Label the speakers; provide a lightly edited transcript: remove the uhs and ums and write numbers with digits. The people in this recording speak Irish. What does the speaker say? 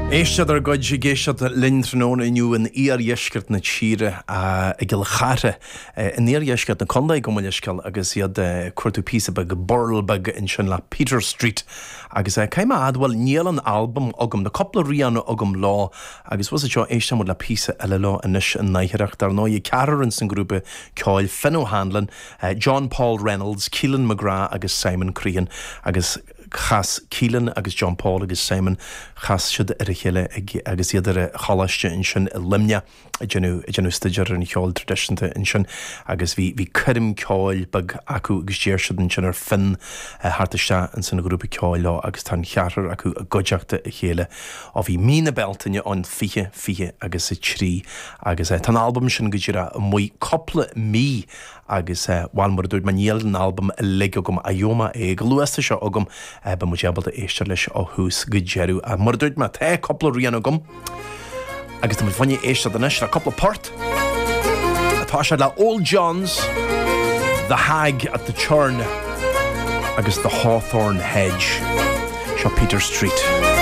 Speaker 1: Éisteacht ár gcuid ag éisteacht linn tráthnóna inniu in iardheisceart na tíre, i gCill Chartha, in iardheisceart na contae, gabh mo leithscéal, agus iad ag cuartú píosa beag, burl beag ansin le Peter Street. Agus caithfidh mé a admháil, níl an albam agam, tá cúpla rian agam leo, agus bhfuil a fhios agat seo, éistfidh muid le píosa eile leo anois in áitheacht. Dar ndóigh, ceathrar ins an ghrúpa ceoil, Finn O'Hanlon, John Paul Reynolds, Keelan McGrath agus Simon Crean, agus chas Keelan agus John Paul agus Simon, chas siad ar a chéile ag, agus iad ar an choláiste ansin i Luimneach ag déanamh, ag déanamh staidéar ar an cheol traidisiúnta ansin agus bhí, bhí coirm ceoil beag acu agus d'iarr siad ansin ar Finn theacht isteach ins an ghrúpa ceoil leo agus tá an cheathrar acu i gcuideachta a chéile ó bhí mí na Bealtaine ann 20, 20 agus 3 agus tá an albam sin go díreach amuigh cúpla mí Agus, bhuel, mar a dúirt mé, níl an albam uilig agam, ach gheobhaidh mé é go luath is tá sé agam, beidh muid ábalta éisteacht leis ó thús go deireadh. Ach mar a dúirt mé, tá cúpla rian agam, agus tá muid fá choinne éisteacht anois le cúpla port. Tá sé le Old John's, The Hag at the Churn agus The Hawthorn Hedge. Seo Peter Street.